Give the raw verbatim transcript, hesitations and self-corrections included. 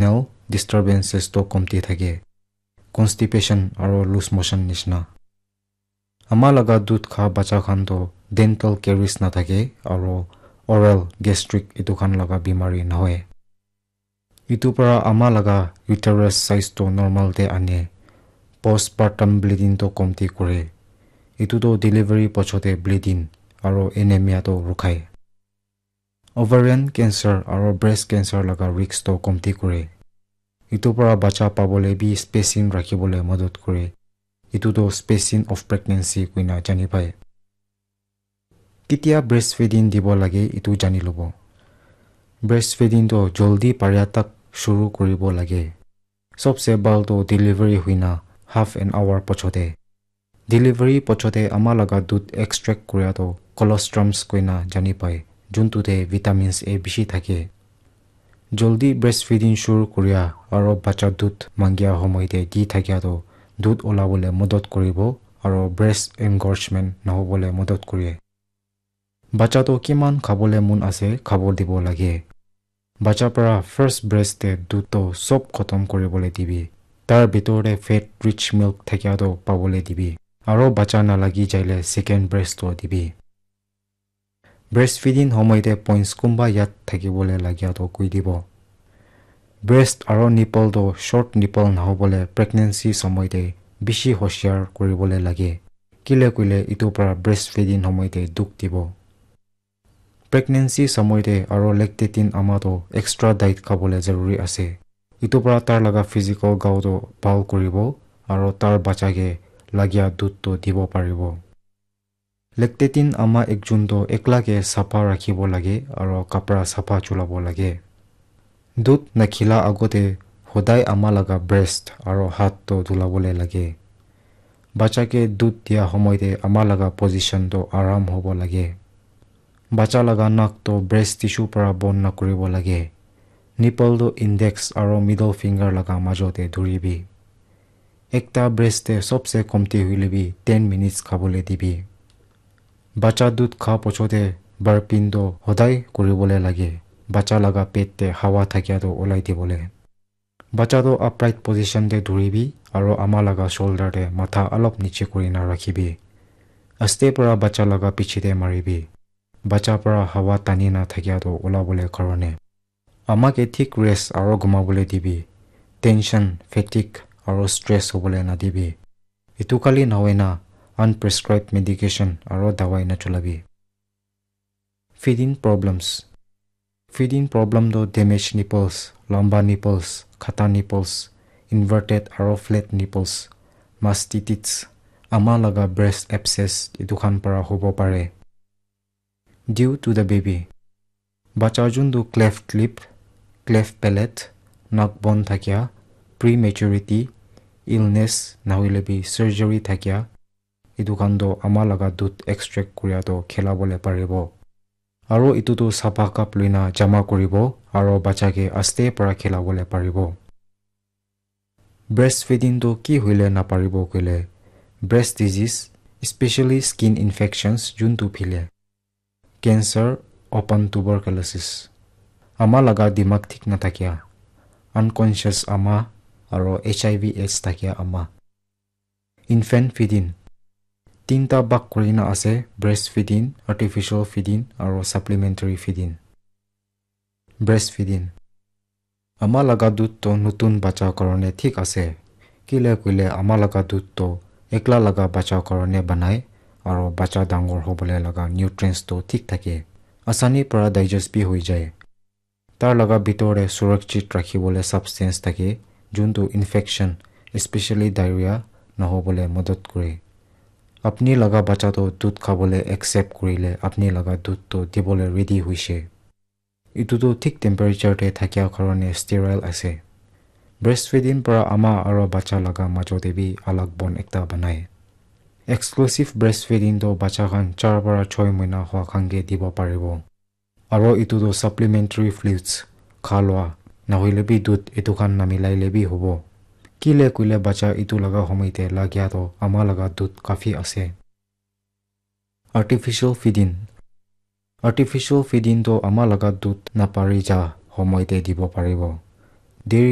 intestinal disturbances to komti thake, constipation aro loose motion nishina. Ama laga dudh kha bacha khan to dental caries na thake aro oral gastric etu khan laga bimari na hoye. Etu para ama laga uterus size to normal te ane. Postpartum bleeding to komti kore. Etu to delivery pochote bleeding aro anemia to rukhai. Ovarian cancer aro breast cancer laga risk to komti kore. Etu para bacha pabole bi spacing rakhibole madad kore. Etu to spacing of pregnancy koina jani pai. Ketia breastfeeding dibo lage etu jani lobo. Breastfeeding to joldi paria tak shuru kuribo lage. Sobse bhal to delivery huina half an hour pochote. Delivery pochote ama laga dudh extract kuria to colostrums koina jani pai, juntu te vitamins A bishi thake. Joldi breastfeeding shuru kuria aro bacha dudh mangia homoi te di thakia to dudh olabole madad kuribo aro breast engorgement nahobole madad kure. Bacha to kiman khabole mon ase, khabo dibo lage. Bacha para first breast te dudh to sob khotom kuribole dibi. Tar bitor te fat rich milk thakia to pabole dibi. Aro bacha nalagi jaile second breast to dibi. Breastfeeding homoi te points kumba yad thakibole lagia to koi dibo. Breast aro nipple to short nipple nahobole pregnancy somoi te bishi hoshiar kuribole lage. Kile koile etu para breastfeeding homoi te dukh dibo. Pregnancy somoi te aro lactating ama to extra diet khabole zaruri ase. Etu para tar laga physical gao to bhal kuribo aro tar bacha ke lagia dudh to dibo paribo. Lactating ama ekjon to ekla ke sapha rakhibo lage aro kapra sapha chulabo lage. Dudh nakhila agote hodai ama laga breast aro hath to dhulabole lage. Bacha ke dudh dia homoi te ama laga position to aram hobo lage. Bacha laga nak to breast tissue para bon nakuribo lage. Nipple to index aro middle finger laga majo te dhuribi. Ekta breast te sobse komti hoile bi ten minutes khabole dibi. Bacha dudh kha pochote burping to hodai kuribole lage. Bacha laga pet te hawa thakia to olai dibole. Bacha to upright position te dhuribi aro ama laga shoulder te matha alop niche kurina rakhibi. Aste para bacha laga piche te maribi. Bacha para hawa tani na thakia to olabole karone. Ama ke thik rest aro ghumabole dibi. Tension, fatigue aro stress hobole nadibi. Etu kali nahoina unprescribed medication aro dawai nachulabi. Feeding problems. Feeding problem to damaged nipples, lamba nipples, khata nipples, inverted aro flat nipples, mastitis, ama laga breast abscess etu khan para hobo pare. Due to the baby. Bacha juntu cleft lip, cleft palate, nak bon thakia, prematurity, illness, nahoile bi surgery thakia, etu khan to ama laga dudh extract kuria to khilabole paribo. Aro etu to sapha cup luina jama kuribo aro bacha ke aste para khilabole paribo. Breastfeeding to ki hoile naparibo koile, breast disease, especially skin infections juntu phile, cancer, open tuberculosis, ama laga dimag thik nathakia, unconscious ama, aro H I V AIDS thakia ama. Infant feeding. Tinta bhag kurina ase, breastfeeding, artificial feeding, aro supplementary feeding. Breastfeeding. Ama laga dudh to nutun bacha karone thik ase. Kile koile ama laga dudh to ekla laga bacha karone banai, aro bacha dangor hobole laga nutrients to thik thake. Asani para digest bi hoi jai. Tar laga bitor te surakshit rakhibole substance thake, juntu infection, especially diarrhea, nahobole madad kure. Apni laga bacha to dudh khabole accept kurile apni laga dudh to dibole ready hoise. Etu to thik temperature te thakia karone sterile ase. Breastfeeding para ama aro bacha laga majo te bi alag bond ekta banai. Exclusive breastfeeding to bacha khan char para choi moina hua khan ke dibo paribo. Aro etu to supplementary fluids, kha lua, nahoile bi dudh etu khan namilai le bi hobo. Kile koile bacha etu laga homoi te lagia to ama laga dudh kafi ase. Artificial feeding. Artificial feeding to ama laga dudh napari ja homoi te dibo paribo. Deri